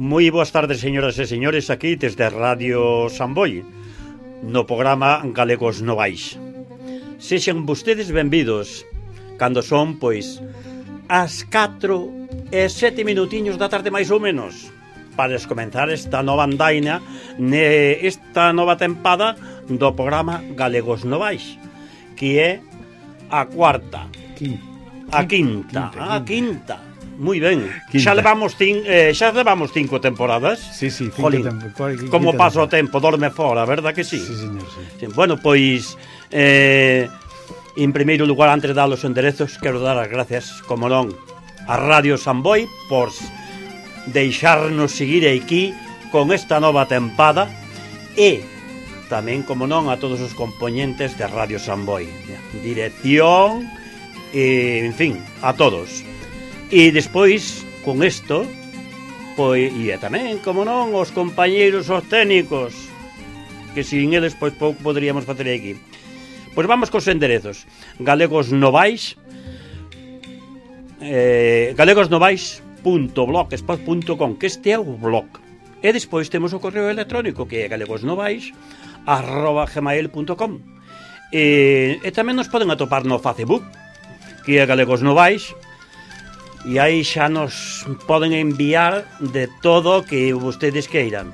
Moi boas tardes, señoras e señores, aquí desde Radio Samboy, no programa Galegos Novais. Sexan vostedes benvidos, cando son, pois, as 4:07 minutiños da tarde máis ou menos, para comenzar esta nova andaina, esta nova tempada do programa Galegos Novais, que é a cuarta, a quinta. Moi ben. Xa levamos 5 temporadas. Sí, 5 temporadas. Como pasa o tempo, dorme fora, verdad que sí? Sí, señor, sí. Bueno, pois en primeiro lugar, antes de dar os enderezos, quero dar as gracias, como non, a Radio Samboy por deixarnos seguir aquí con esta nova tempada, e tamén, como non, a todos os componentes de Radio Samboy, dirección, en fin, a todos. E despois, con isto, pois, e tamén, como non, os compañeiros, os técnicos, que sin eles, pois, pouco poderíamos facer aquí. Pois vamos cos enderezos. Galegos Novais, galegosnovais.blogspot.com, que este é o blog. E despois temos o correo electrónico, que é galegosnovais@gmail.com. E tamén nos poden atopar no Facebook, que é Galegos Novais. E aí xa nos poden enviar de todo que vostedes queiran.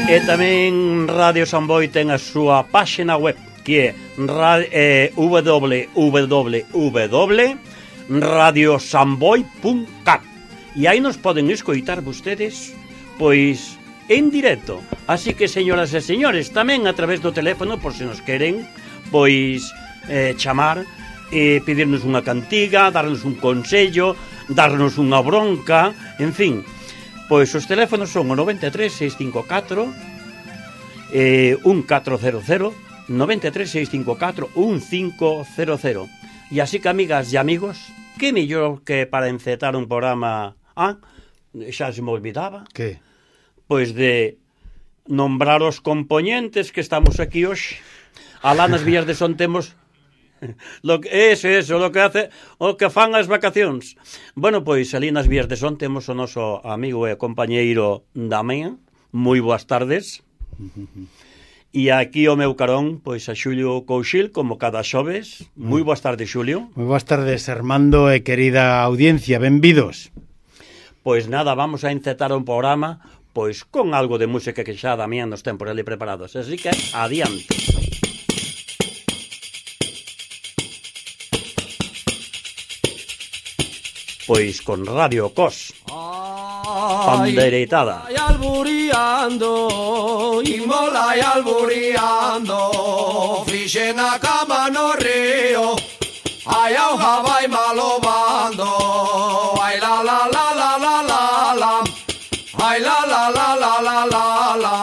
E tamén Radio Samboy ten a súa páxina web, que é www.radiosamboy.cat, e aí nos poden escoitar vostedes, pois, en directo. Así que, señoras e señores, tamén a través do teléfono, por se nos queren, pois, chamar e pedirnos unha cantiga, darnos un consello, darnos unha bronca, en fin. Pois os teléfonos son o 93 654 1400, 93 654 1500. E así que, amigas e amigos, que mellor que para encetar un programa, xa se me olvidaba, que? Pois de nombrar os componentes que estamos aquí hoxe. Alá nas Villas de Son temos lo que fan as vacacións. Bueno, pois ali nas Villas de Son temos o noso amigo e compañeiro Damián. Moi boas tardes. E aquí o meu carón, pois a Xulio Couchil, como cada xoves. Moi boas tardes, Xulio. Moi boas tardes, Armando e querida audiencia, benvidos. Pois nada, vamos a encetar un programa, pois con algo de música que xa Damián nos ten por ali preparados. Así que, adiante. Pois con Radio Cos, Panderetada. Ay, alburiando, Imola y alburiando, fixe na cama no río, ay, auja vai malobando, ay, la la la la la la la, ay, la la la la la la la.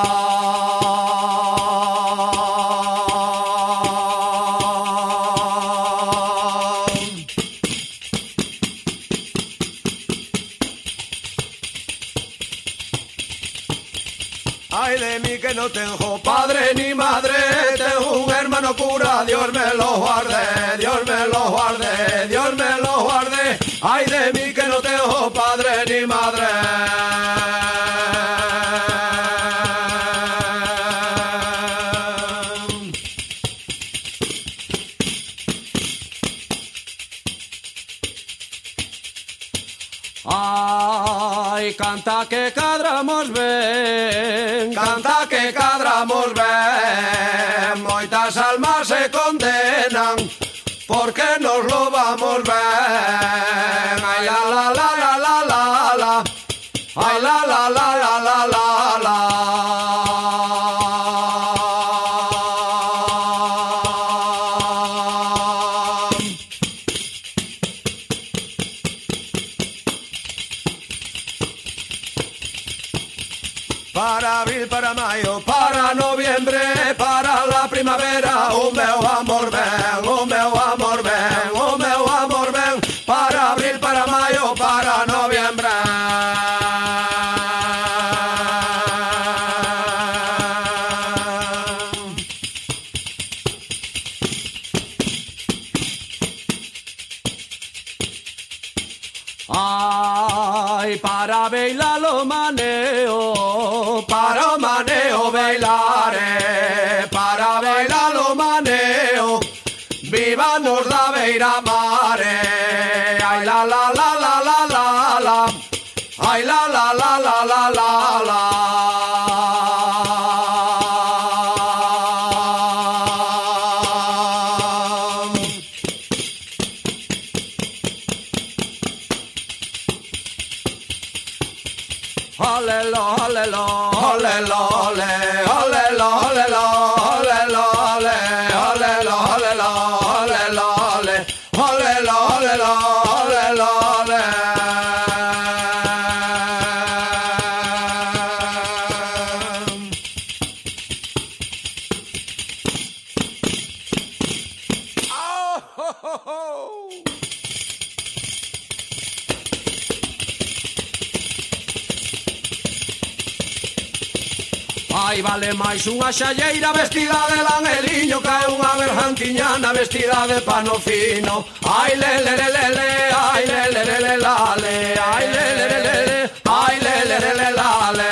Ay de mí que no tengo padre ni madre, tengo un hermano cura, Dios me lo guarde, Dios me lo guarde, Dios me lo guarde. Ay de mí que no tengo padre ni madre. Ay, canta que cadramos ben, canta que cadramos ben, moitas almas se condenan, porque nos lo vamos ben. Ay, la la la la la la la, ay, la la la la la la la. Para abril, para mayo, para noviembre, para la primavera, o meu amor ven, o meu amor ven, o meu amor ven. Para abril, para mayo, para noviembre. Ai, para bailar o maneo, para o maneo bailare, para bailar o maneo, viva nos da beira mare. Ai la la la la la la la, ai la la la la la la la. Ai, vale máis unha xalleira vestida de langeliño que unha bergantiñana vestida de pano fino. Ai, le, le, le, le, le, ai, le, le, le, le, la, le, ai, le, le, le, le, le, ai, le, le, le, le, la, le.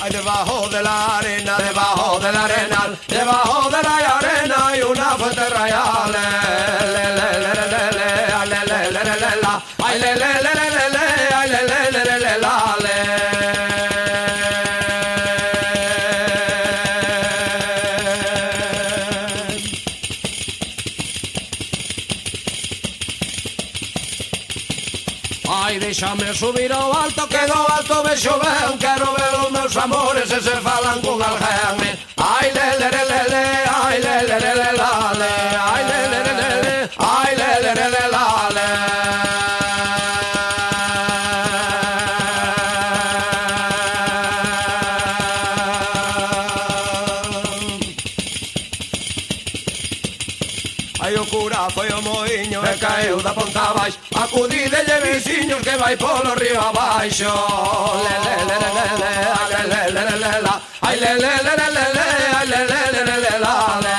Ai, debajo de la arena, debajo del arenal, debajo de la arena hay una fuente real. Le, le, le, le, le, le, ay, le, le, le, le, le, la, ay, le, le, le, le, le, le, ay, le, le, le, le, le, la, le. Ai, déxame subir ao alto, que do alto vexo ben, quero ver os meus amores e se falan con alguén. Ai, le, le, le, le, le, ai, le, le, le, le, la, le, ai, le, le, le, le, le, ai, le, le, le, le, la, le. Ai, o cura foi o moiño e caeu da ponta baixo, acudidelle veciños que vai polo río abaixo. Le, le, le, le, le, le, ai, le, le, le, le, le, la, ai, le, le, le, le, le, le, ai, le, le, le, le, le, la, le.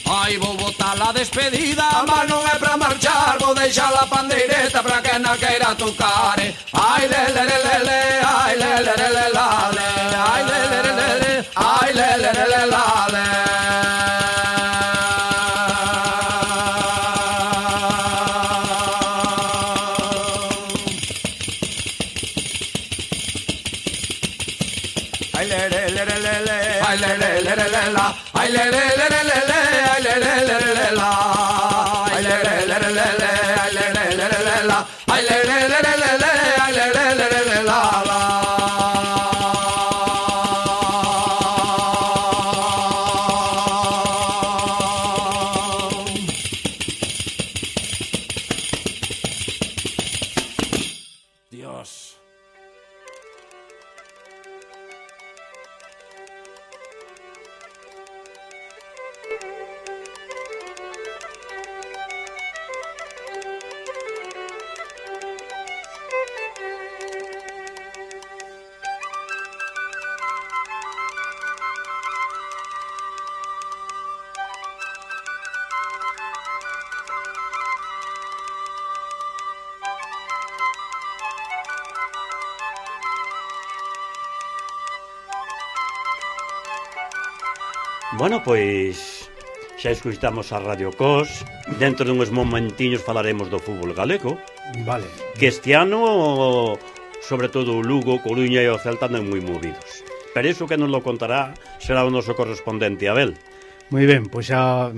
Ai, vou botar a despedida, mas non é pra marchar, vou deixar a pandeireta pra que na queira tocar. Ai, le, le, le, le, le, ai, le, le, le, le, la, le, ai, le, le, le, le, le, ai, le, le, le, le, la, le. Ai, le, le, le, le, le, le, ai, le, le, le, le, le, la, ai, le, le, le, le, le, le, ai, le, le, le, le, le, la, ai, le, le, le, le, le, le, ai, le, le, le, le, le, la, ai, le, le, le, le, le, le, ai, le, le, le, le, le, la, la. Dios. Bueno, pois xa escuitamos a Radio Cos. Dentro dunhos momentiños falaremos do fútbol galego. Vale. Que este ano, sobre todo o Lugo, Coruña e o Celta andan moi movidos. Pero iso que nos lo contará será o noso correspondente Abel. Moi ben, pois xa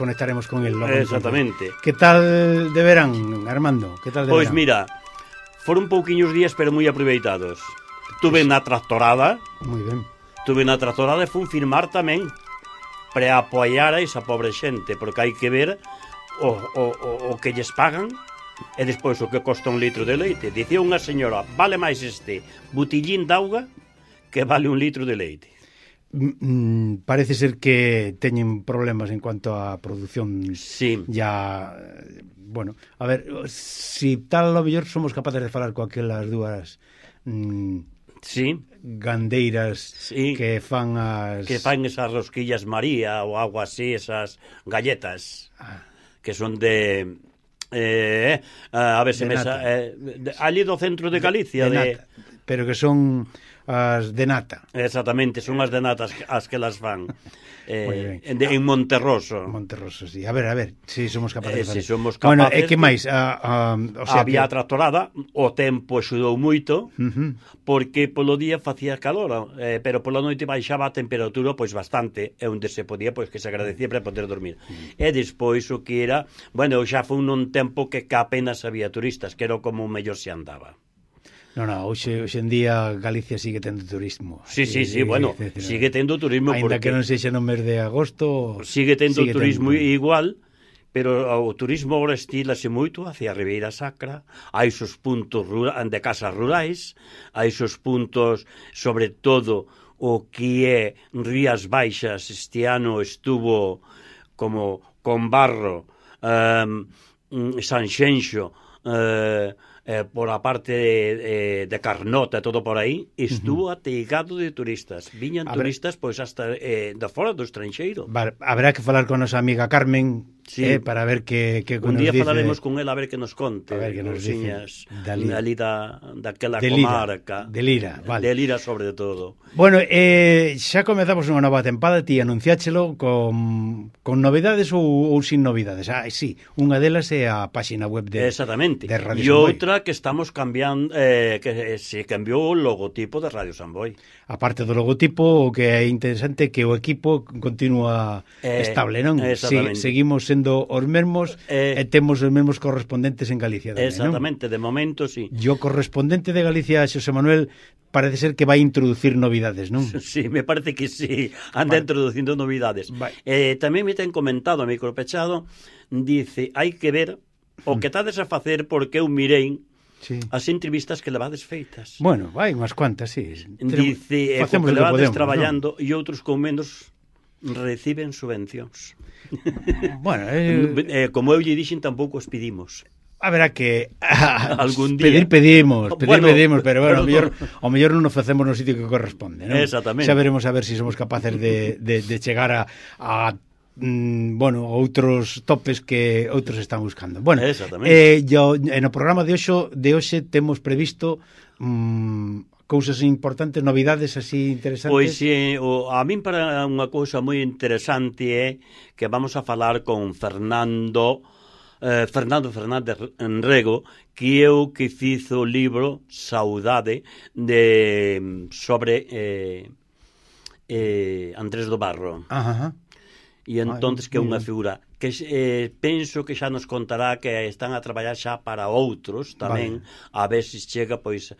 conectaremos con el. Exactamente. Que tal de verán, Armando? Que tal de Pois verán? mira, foron pouquiños días pero moi aproveitados. Tuve na tractorada. Moi ben. Tuve na tractorada e fun firmar tamén para apoiar a esa pobre xente, porque hai que ver o que lles pagan e despois o que costa un litro de leite. Dicía unha señora, vale máis este botellín de auga que vale un litro de leite. parece ser que teñen problemas en cuanto a produción. Sí. Ya, bueno, a ver, si tal a lo mellor somos capaces de falar coaquelas dúas sí, gandeiras sí, que fan esas rosquillas María ou algo así, esas galletas que son de a ver se me ali do centro de Galicia de nata, pero que son as de nata. Exactamente, son as de nata as que las fan. En Monterroso. Monterroso, sí. A ver, si somos capaces de fazer. Si somos capaces. Bueno, e que máis? O sea, había tractorada, o tempo axudou moito, porque polo día facía calor, pero pola noite baixaba a temperatura pois bastante, e onde se podía, pois que se agradecía para poder dormir. E despois o que era, bueno, xa foi un tempo que apenas había turistas, que era como mellor se andaba. Non, hoxe en día Galicia sigue tendo turismo. Sí, bueno, sigue tendo turismo. Ainda que non sexa no mes de agosto... Sigue tendo turismo igual, pero o turismo agora estílase moito hacia a Ribeira Sacra, hai esos puntos de casas rurais, hai esos puntos, sobre todo, o que é Rías Baixas, este ano estuvo como con Barro, Sanxenxo, por a parte de Carnota e todo por aí, estuvo ateigado de turistas. Viñan turistas pois hasta de fora do estranxeiro. Haberá que falar con nosa amiga Carmen, para ver que un día nos dice. Falaremos con ela a ver que nos conte. A ver que nos dice. Ali daquela comarca. De Lira, vale. De Lira sobre todo. Bueno, xa comezamos unha nova tempada, ti anunciáchelo con novidades ou sin novidades. Sí, unha delas é a páxina web de Exactamente. De Radio e Samboy. outra que estamos cambiando, que se cambiou o logotipo de Radio Samboy. A parte do logotipo, o que é interesante é que o equipo continúa estable, non? Seguimos sendo os mesmos e temos os mesmos correspondentes en Galicia tamén, exactamente, non? de momento, sí. E o correspondente de Galicia, Xosé Manuel, parece ser que vai introducir novidades, non? Sí, me parece que sí, anda introducindo novidades. Tamén me ten comentado a micropechado, dice, hai que ver o que tades a facer porque eu mirei as entrevistas que levades feitas. Bueno, vai unhas cuantas, sí. Dice, co que levades traballando e outros con menos reciben subvencións. Bueno, como eu lle dixen, tampouco os pedimos. Haberá que algún día pedimos, pero bueno, ao mellor non nos facemos no sitio que corresponde, non? Exactamente. Xa veremos a ver se somos capaces de chegar a outros topes que outros están buscando. Bueno, no programa de hoxe temos previsto cousas importantes, novidades así interesantes. Pois a min para unha cousa moi interesante é que vamos a falar con Fernando Fernández Enrego, que é o que fizo o libro Saudade sobre Andrés do Barro. E entonces que é unha figura que penso que xa nos contará que están a traballar xa para outros tamén, a ver se chega pois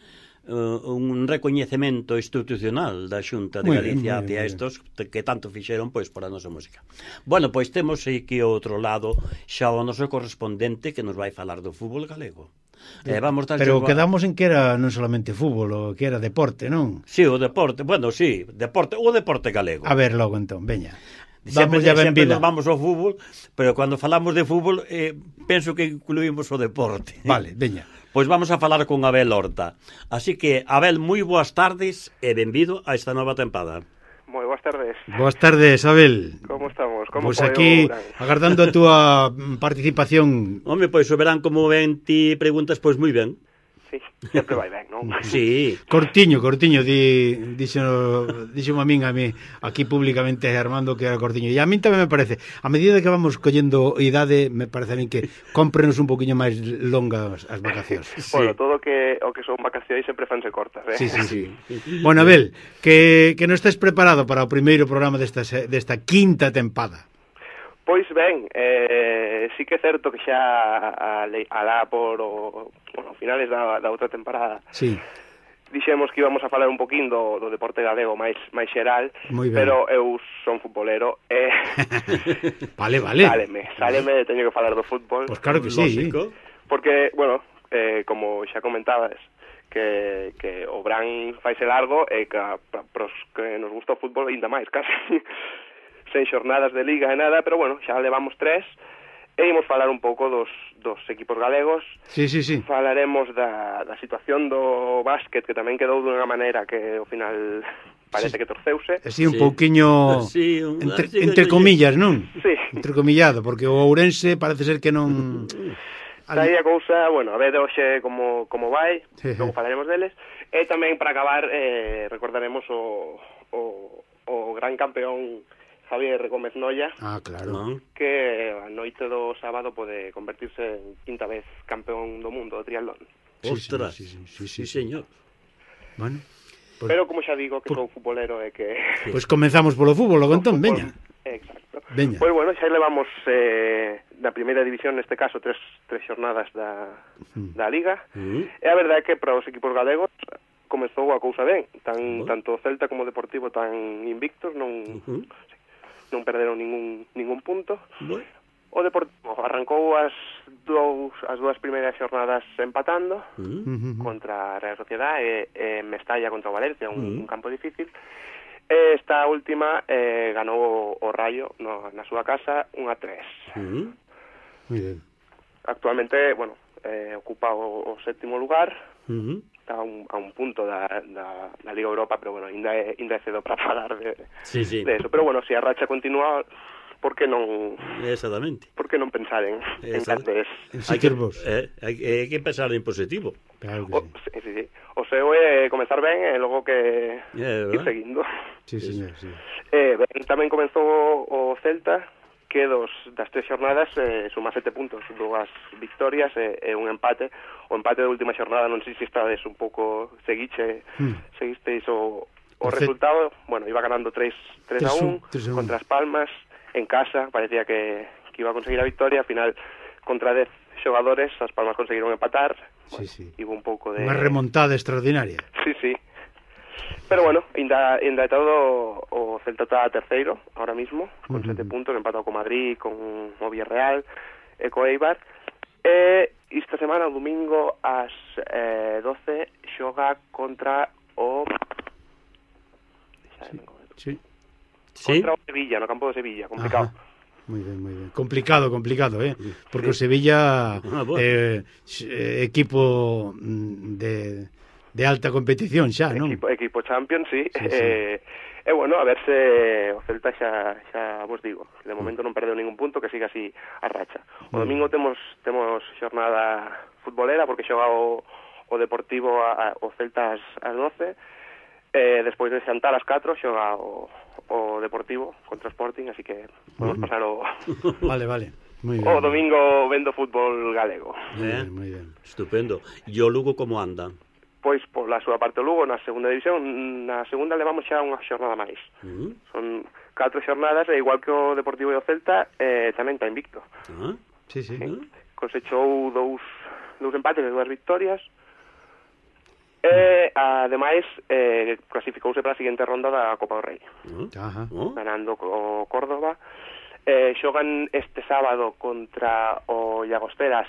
un recoñecemento institucional da Xunta de Galicia hacia estos que tanto fixeron pois por a nosa música. Bueno, pois temos aquí ao outro lado xa o noso correspondente que nos vai falar do fútbol galego. Pero quedamos en que era non solamente fútbol, o que era deporte, non? Sí, o deporte, bueno, sí, o deporte galego. A ver logo entón, veña. Sempre nos vamos ao fútbol, pero cando falamos de fútbol penso que incluímos o deporte. Vale, veña. Pois vamos a falar con Abel Horta. Así que, Abel, moi boas tardes e benvido a esta nova tempada. Moi boas tardes. Boas tardes, Abel. Como estamos? Pois aquí, agardando a túa participación. Home, pois o verán como ven ti preguntas, pois moi ben. Sí, sempre vai ben, non? Sí. Cortiño, díxome a min aquí públicamente Armando que era cortiño. E a min tamén me parece, a medida que vamos collendo idade, me parece a min que cómprenos un poquinho máis longas as vacacións. Sí. Bueno, todo o que son vacacións sempre fanse cortas, Sí. Bueno, Abel, que non estés preparado para o primeiro programa desta quinta tempada. Pois ben, sí que é certo que xa alá por finales da outra temporada dixemos que íbamos a falar un poquín do deporte galego máis xeral, pero eu son futbolero e Sáleme, teño que falar do fútbol. Pois claro que sí. Porque, bueno, como xa comentabas, que o Bran faise largo e que pros que nos gusta o fútbol ainda máis, casi sen xornadas de liga e nada, pero bueno, xa levamos 3 e imos falar un pouco dos equipos galegos. Sí. Falaremos da situación do básquet, que tamén quedou dunha maneira que ao final parece que torceuse. Así un pouquiño entre comillas, non? Sí. Entrecomillado, porque o Ourense parece ser que non... Está aí a cousa, bueno, a ver hoxe como vai, logo falaremos deles. E tamén, para acabar, recordaremos o gran campeón Javier Gómez Noya, claro, que a noite do sábado pode convertirse en 5ª vez campeón do mundo de triatlón. Ostras, sí, señor. Bueno, pues, pero como xa digo que sou futbolero e que... Pois comenzamos polo fútbol, logo entón, veña. Exacto. Veña. Pois bueno, xa levamos da primeira división, neste caso, tres xornadas da Liga, e a verdade é que para os equipos galegos comezou a cousa ben, tanto o Celta como o Deportivo tan invictos, non perderon ningún punto. O Deportivo arrancou as dúas primeiras xornadas empatando contra a Real Sociedad e Mestalla contra o Valencia, un campo difícil. Esta última ganou o Rayo na súa casa 1-3. Muy ben. Actualmente, bueno, ocupa o 7º lugar. Está a un punto da Liga Europa, pero bueno, ainda é cedo para falar de eso. Pero bueno, se a racha continúa, por que non... Exactamente. Por que non pensar en cantes? Hai que pensar en positivo. Claro que sí. O seu é comenzar ben e logo que ir seguindo. Sí, señor, sí. Tamén comenzou o Celta, que das 3 xornadas suma 7 puntos, 2 victorias e un empate. O empate da última xornada, non sei se estades un pouco seguisteis o resultado. Bueno, iba ganando 3-1 contra as Palmas en casa, parecía que iba a conseguir a victoria. Al final, contra 10 xogadores, as Palmas conseguiron empatar. Iba un pouco de... Unha remontada extraordinaria. Sí. Pero bueno, ainda e todo o Celta está terceiro ahora mismo, con 7 puntos, empatado con Madrid, con o Villarreal e co Eibar. E esta semana, o domingo, ás 12, xoga contra o... Contra o Sevilla, no campo de Sevilla, complicado. Moi ben. Complicado, porque o Sevilla equipo de alta competición xa, non? Equipo Champions, sí. E bueno, a ver se o Celta xa vos digo, de momento non perdeu ningún punto, que siga así a racha. O domingo temos xornada futbolera, porque xoga o Deportivo o Celta ás 12, despois de xantar ás 4 xoga o Deportivo contra o Sporting, así que podemos pasar o... Vale, muy bien. O domingo vendo fútbol galego. Muy bien. Estupendo. E o Lugo como anda? Pois, pola súa parte, o Lugo na segunda división, na segunda levamos xa unha xornada máis. Son 4 xornadas, e igual que o Deportivo e o Celta, tamén está invicto. Sí. Cosechou dous empates e 2 victorias, e, ademais, clasificouse para a seguinte ronda da Copa do Rei. Ganando o Córdoba. Xogan este sábado contra o Llagosteras,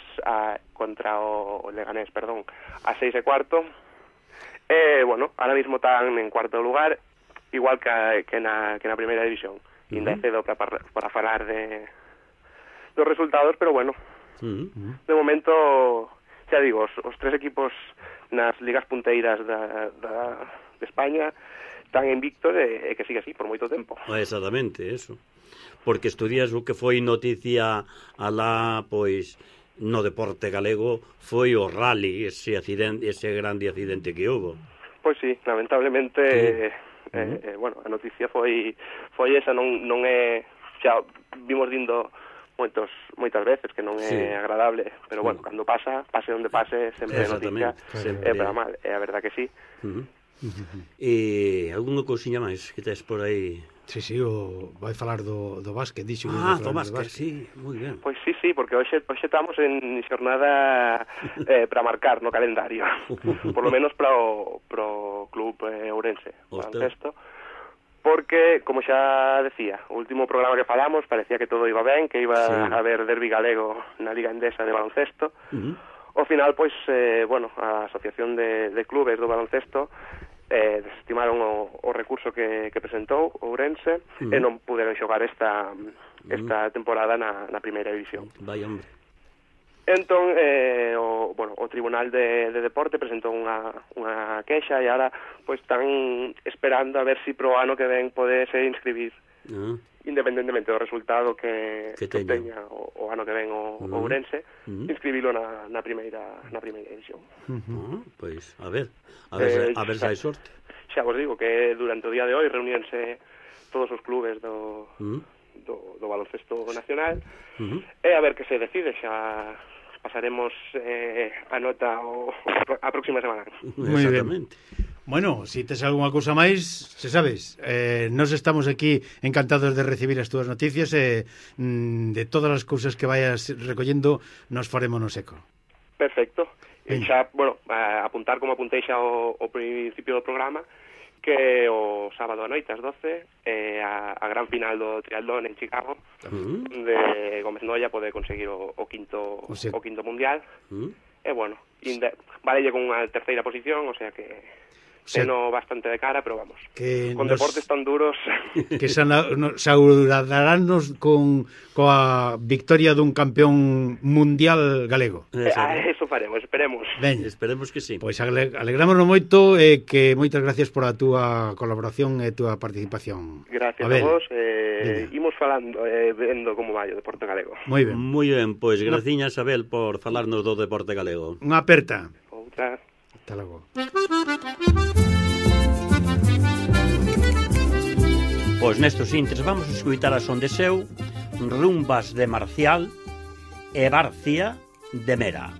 contra o Leganés, perdón, a 6:15. Bueno, ahora mismo están en 4º lugar, igual que na primeira división. Ainda é cedo para falar dos resultados, pero bueno, de momento, xa digo, os 3 equipos nas ligas punteiras de España están invictos e que sigue así por moito tempo. Exactamente, eso. Porque estudias o que foi noticia alá, pois, no deporte galego, foi o rally, ese grande accidente que houve. Pois sí, lamentablemente, bueno, a noticia foi esa, non é, xa vimos dindo moitas veces que non é agradable, pero bueno, cando pase onde pase, sempre é noticia, é para mal, é a verdad que sí. E algunha cousiña máis que tes por aí? Sí, vai falar do básquet, dixo. Do básquet, sí, moi ben. Pois sí, porque hoxe estamos en xornada para marcar no calendario, por lo menos para o club ourense, baloncesto, porque, como xa decía, o último programa que falamos parecía que todo iba ben, que iba a haber derbi galego na Liga Endesa de baloncesto. Ao final, pois, a Asociación de Clubes do Baloncesto desestimaron o recurso que presentou Ourense e non puderon xogar esta temporada na primeira división. Vai, hombre. Entón, o Tribunal de Deporte presentou unha queixa e agora pois están esperando a ver se pro ano que ven podese inscribir, independentemente do resultado que teña o ano que ven o Ourense, inscribilo na primeira división. Pois, a ver se hai sorte. Xa vos digo que durante o día de hoy reuníanse todos os clubes do baloncesto nacional e a ver que se decide, xa pasaremos a nota a próxima semana. Moi ben. Bueno, si tes algunha cousa máis, se sabes, nos estamos aquí encantados de recibir as túas noticias e de todas as cousas que vayas recollendo nos farémonos eco. Perfecto. E xa, apuntar como apuntei xa ao principio do programa, que o sábado a noite ás 12 a gran final do triatlón en Chicago, de Gómez Noya pode conseguir o quinto mundial, e valelle con unha terceira posición, o sea que teno bastante de cara, pero vamos, con deportes tan duros que saudaranos coa victoria dun campeón mundial galego. Eso faremos, esperemos. Ben, esperemos que sí. Pois alegrámonos moito e que moitas gracias por a túa colaboración e a túa participación. Gracias a vos, imos falando, vendo como vai o deporte galego. Moi ben. Moi ben, pois graciñas, Abel, por falarnos do deporte galego. Unha aperta. Outra. Hasta logo. Pois nestos intres vamos a escutar a son de seu, Rumbas de Marcial e Barcia de Mera.